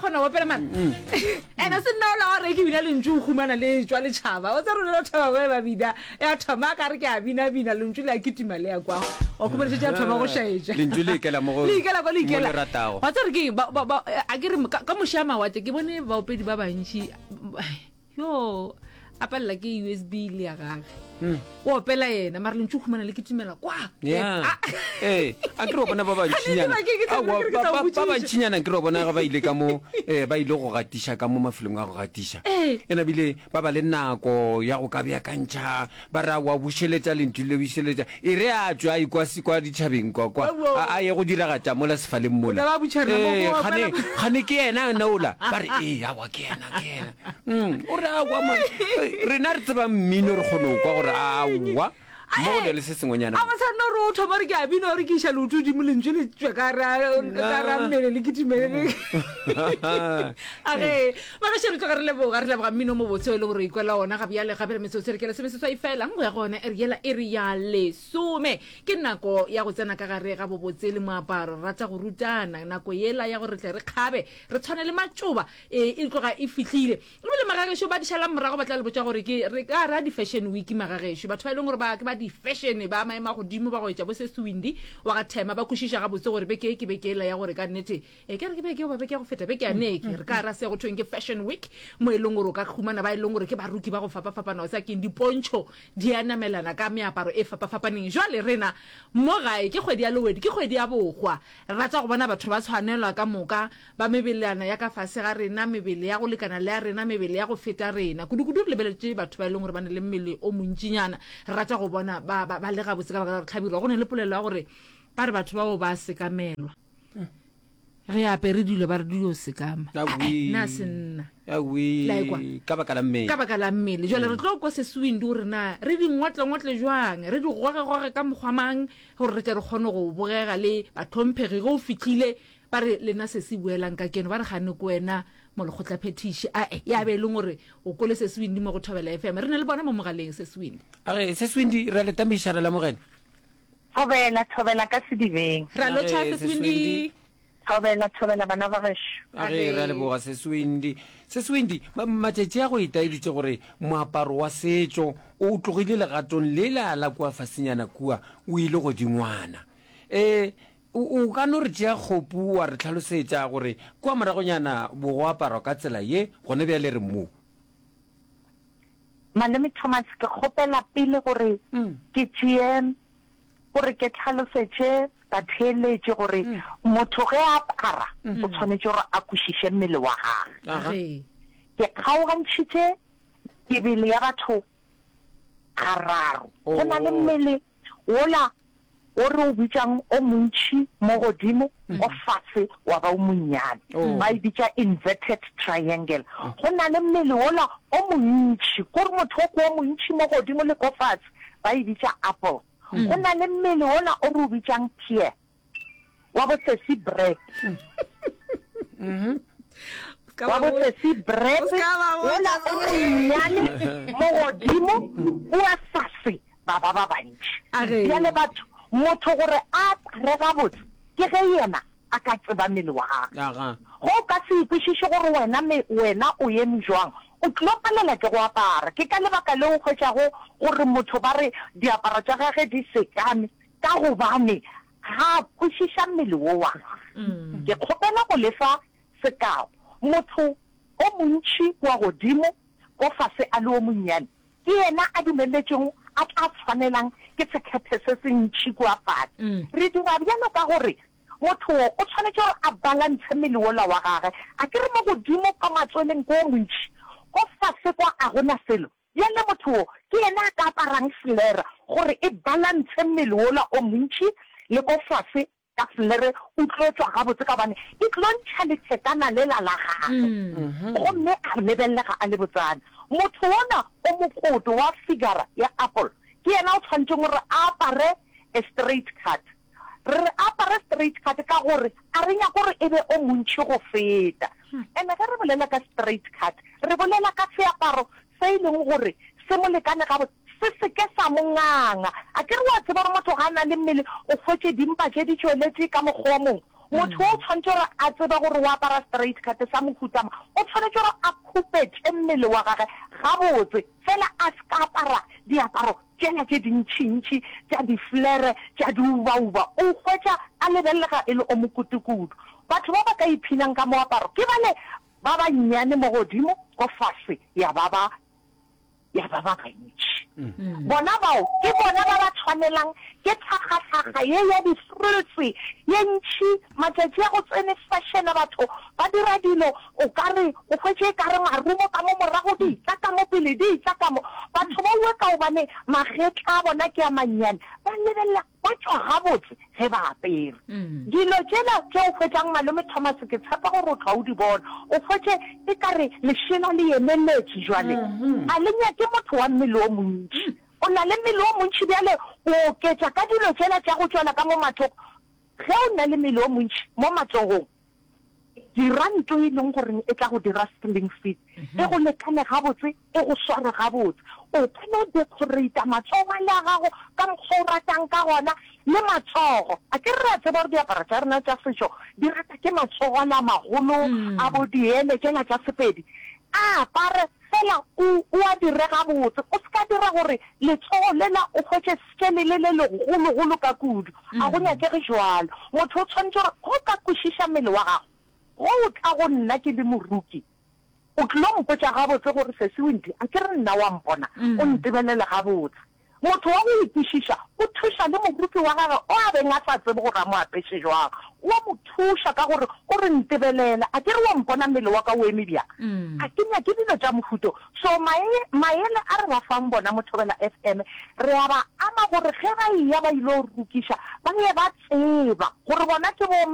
kgona go opela mara ene se nna ola wa re ke bina lentšu o humana le tšwa letšhaba o tsa rona thaba ba ba bina ya thoma ka re ke a bina bina lentšu le a kitima le ya kwa wa humana šetše a thoma go šaetša Lentšu le ikela mo go- le ikela kwa le mo ikela le ratago. wa tsa re ke ba ba ba a ke re ka ka moše a mawatle ke bone baopedi ba bantši Yo, a palela ke USB le ya gage. Hmm. O opela yena, mara lentšu humana le kitimela kwa. Yeah. Ah. Eh, a ke re bona ba bantšinyana. Ba bantšinyana ke re bona ga ba ile ka mo eh ba ile go gatiša ka mo mafelong a go gatiša. Eh. Ena bile ba ba le nako ya go ka beakantšha, ba ra wa bušeletša lentšu le bušeletša. E re a tšwa a ikwa kwa ditšhabeng kwa kwa. A ye go diragatša mola sefaleng mola. Eh, gane gane ke yena nola. Ba re eh awa ke yena ke yena. Mm, o re aowa man rena re tseba mmino re kgone go kwa gore aowa mo go na le se sengwenyana a ba sa nna gore o thoma re ke a bina gore ke iša leoto godimo lentswe le tswe ka ra mmele le kitimele a ge ba gaše re tloga re leboga re leboga mmino mo botse o e le gore ikwela ona ga bjale gape le metsotso re ke lesomeseswai fela go ya go yona e re yela e re ya lesome ke nako ya go tsena ka gare ga bobotse le moaparo re rata go rutana nako yela ya gore re tle re kgabe re tshwane le matšoba E, e tloga e fihlile. Ebile magagešo ba di šalang morago ba tla le botša gore ke re ka ra di-fashion week magagešo. Batho ba e leng gore ba ke ba di-fashion ba maemo a godimo ba go etša bo Sesi Windy wa ga Thema ba kwešiša gabotse gore beke e ke beke ela ya gore ka nnete e ke re ke beke goba beke ya go feta beke ya neke re ka ra se go thweng ke fashion week mo e leng gore o ka humana ba e leng gore ke baruki ba go fapafapana o sa keng dipontšho di a namelana ka meaparo e fapafapaneng. Jwale rena mo gae ke kgwedi ya Lowedi ke kgwedi ya bohwa re rata go bona batho ba tshwanelwa ka moka Ba mebelana ya ka fase ga rena, mebele ya go lekana le ya rena, mebele ya go feta rena. Kudu-kudu re lebeletše batho ba e leng gore ba na le mmele o montšinyana. Re rata go bona ba, ba, ba le gabotse ka baka la gore tlhabirwa. Go na le polelo ya gore ba re batho bao ba sekamelwa. Ge apere dilo ba re di yo sekama. Awi. Na se nna. Awi. La ekwa? Ka baka la mmele. Ka baka la mmele. Jwale re tlo kwa Seswindi gore na re di ngotle-ngotle jwang, re di goge-goge ka mokgwa mang gore re tle re kgone go bogega le bahlomphegi ge o fihlile Ba re, Lena sesi boelang ka keno. Ba re, Gane ke wena molekgotlaphethiši. Ae, ya be e leng gore o kwele Sesi Windy mo go Thobela FM. Re na le bona mo mogaleng, Sesi Windy. A re, Sesi Windy, re a le tamiša, re lamogela. Thobela, thobela ka sedibeng. Re a lotšha, Age, Sesi Sesi Windy. Windy. Thobela, thobela bana ba gešo. Age, re a leboga, Sesi Windy. Sesi Windy, ma, matšatši a go itaeditše gore moaparo wa setšo o tlogile legatong lela la kua fasenyana kua, o ile godingwana. E, O, o ka no re tšea kgopu wa re hlalosetša gore kua moragonyana bo go aparwa ka tsela ye, gona bjale re mo. Malome Thomas, ke kgopela pele gore ke tšee, gore ke hlalosetše batheeletši gore motho ge a apara o tshwanetše gore a kwešiše mmele wa gagwe. Ke kgaogantšhitše mebele ya batho gararo. Go na le mmele Wola wo re o bitšang o montši mo godimo, o fase wa ba o monnyane. Ba e bitša inverted triangle. Go na le mmele wola o montši, ko re motho o ke o montši mo godimo le ko fase, ba e bitša apple. Go na le mmele wola o re o bitšang pear. Wa bo sesi Brett. Wa bo sesi Brett wola o monnyane mo godimo kua fase ba ba ba bantši. Bjale batho, motho gore a apare gabotse ke ge yena a ka tseba mmele wa gagwe. Ge o ka se ikwešiše gore wena me wena o eme jwang, o tlo palela ke go apara. Ke ka lebaka leo o hwetšago gore motho ba re diaparo tša gage di sekame Ka gobane ga a kwešiša mmele wo wa gagwe. Ke kgopela go le fa sekao. Motho o montši kua godimo, ko fase a le o monnyane, ke yena a dumeletšwego a tla tshwanelang ke sekhethe se se ntši kua fase. Re dira bjalo ka gore motho wo o tshwanetše gore a balantshe mmele wola wa gagwe. A ke re mo godimo kwa matsweleng ke o montši, ko fase kwa a go na selo. Bjale motho wo ke yena a ka aparang flare gore e balantshe mmele wola o montši le ko fase ka flare o tlo tšwa gabotse ka gobane e tlo ntšha lethekana lela la gagwe gomme a lebelelega a le botsana. Motho wona o mokoto wa figure ya apple ke yena o tshwanetšeng gore a apare a straight cut. Re re a apare straight cut ka gore a re nyake gore e be o montši go feta. And-e ge re bolela ka straight cut, re bolela ka seaparo se e leng gore se mo lekane gabotse, se se ke sa mo nganga. Akere wa tseba gore motho ga a na le mmele o hwetše dimpa tše di tšweletše ka mokgwa o mongwe. Motho o tshwanetše gore a tsebe gore o apara straight cut sa mohuta mang. O tshwanetše gore a khupetše mmele wa gage gabotse, fela a se ka apara diaparo tšela tše dintšintši tša diflere tša diubauba. O hwetša a lebelelega e le o mokutukudu. Batho ba ba ka iphinang ka moaparo ke bale ba bannyane mo godimo, ko fase ya ba ba ya ba ba bantši. Bona bao ke bona ba ba tshwanelang ke tlhagahlaga ye ya di-frills ye ntši. Matšatši a go tsene fashion batho ba dira dilo o ka re o hwetše e ka re marumo ka mo morago di tla ka mo pele di tla ka mo. Batho ba uwe ka gobane magetla a bona ke a mannyane ba lebelela Ba tšwa gabotse ge ba apere. Dilo tšela tše o hwetšang Malome Thomas, ke tshepa gore o tloga o di bona. O hwetše e ka re lešela le emeletše bjale. A le nyake motho wa mmele o montši. O na le mmele o montši bjale o oketša ka dilo tšela tša go tšwela ka mo mathoko. Ge o na le mmele o montši mo matsogong, Dira ntlo e leng goreng e tla go dira sling fit, e go lekane gabotse, e go sware gabotse. O ka no decorata matsogo ale a gago ka mokgwa o ratang ka gona, le matsogo. Akere re a tseba gore diaparo tša rena tša setšo di rata ke matsogo ale a magolo a bo diele tšela tša Sepedi. A apare fela o o a dire gabotse. O se ka dira gore letsogo lela o hwetše skele le le legologolo ka kudu. A go nyakege bjalo. Motho o tshwanetše gore ge o ka kwešiša mmele wa gago, ge o tla go nna ke le moruki, o tlilo mpotša gabotse gore Sesi Windy, a ke re nna wa mpona, o ntebelele gabotse. Motho wa go ikwešiša o thuša le moruki wa gagwe o a beng a sa tsebe gore a mo apeše bjang. O a mo thuša ka gore o re, Ntebelele, a ke re wa mpona mmele wa ka o eme bjang? A ke nyake dilo tša mohuta o. So mae, maele a re ba fang bona mo Thobela FM, re a ba ama gore ge ba eya ba ilo rukiša, ba ye ba tseba gore bona ke bo.